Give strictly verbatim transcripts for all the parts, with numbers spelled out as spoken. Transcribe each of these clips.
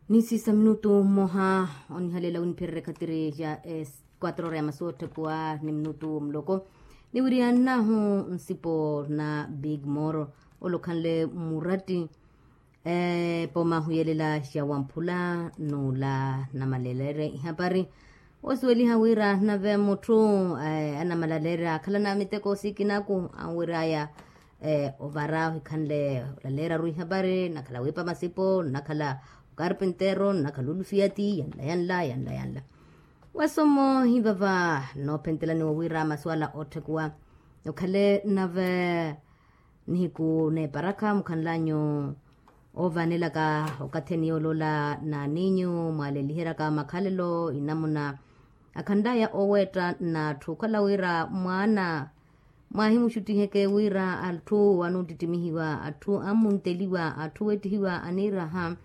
Nisiisa minutu mmoha onihalela winiphererya ekhatiri ya quatro ora ya masu otthekuwa ni minutu muloko. Niwiriyannahu nsipo na big moro olokhanle muratti. Epooma ahuyelela ya wamphula n'ula namalelere ihapari. Osuweliha wira nave mutthu anamalaleerya akhalana miteko sikinaku anwiraya ovara ohikhanle olaleerya-ru ihapari nnakhala wiipa masipo nnakhala okarpintero nnakhala olufiyati yanla yanla yanla yanla. Wasomo hivava noophentelaniwa wira masuwala otthekuwa okhale nave nihiku n'eparakha mukhanlanyu oovanelaka okathi eniyooloola n'aninyu mwaaleliheryaka makhalelo inamuna akhanlaya oweetta n'atthu okhala wira mwaana mwaahimuxuttiheke wira atthu anuuttittimihiwa atthu ammunteliwa atthu wettihiwa aniiraha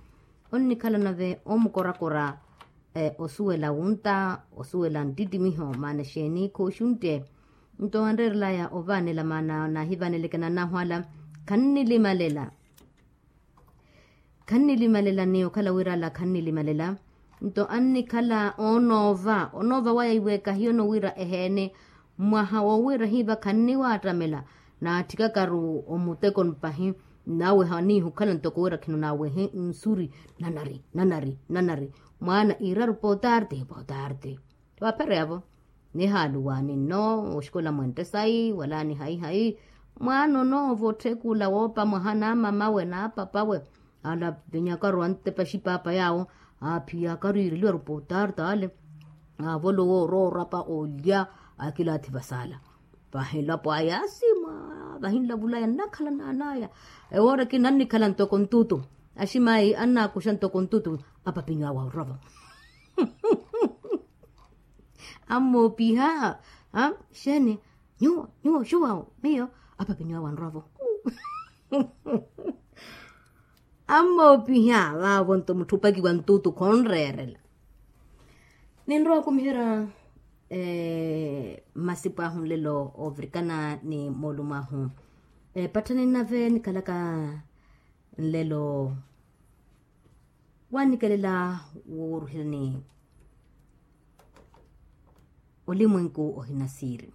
onnikhala nave omukorakora osuwela wunta osuwela nttittimiho maana exeeni khooxuntte. Nto anreerelaya ovaanela maana naahivaaneleke nannahu ala khannilimalela khannilimalela ni okhala wira ala khannilimalela. Nto annikhala onoova onoova waya iweeka hiyono wira eheene mwaha woowira hiiva khanniwaattamela naatthikaka-ru omutekoni pahi. Naweha niihi okhala ntoko wira khino naawehe nsuri nanari nanari nanari mwaana iiraru potarti potarti. Waaphereyavo nihaaluwa ninno oxikola mwentte sayi wala nihayi hayi mwaana onoova otthekula woopa mwaha naamamawe naapapawe. Ala vinyakaru antepa exipaapa yaawo aaphiyakaru iireliwaru potarti ale. Aavolowa oroorapa olya akilaathi vasaala. Vahilapo aya asimwa vahinlavulaya nnakhala naanaya. Ewoora ekina annikhala ntoko ntutu aximayi annaakuxa ntoko ntutu. Apapinyu awo anrova ammoopiha. Xeeni nyuwo nyuwo xuwawo miyo apapinyu awo anrova. Ammoopiha vaavo nto mutthu opakiwa ntutu khonreerela. Ninrowa okumiherya masipo ahu nlelo oovirikana ni moolumo ahu. Epatthani nnave nikhalaka nlelo waanikelela wooruherya ni olimwenku ohina siiri.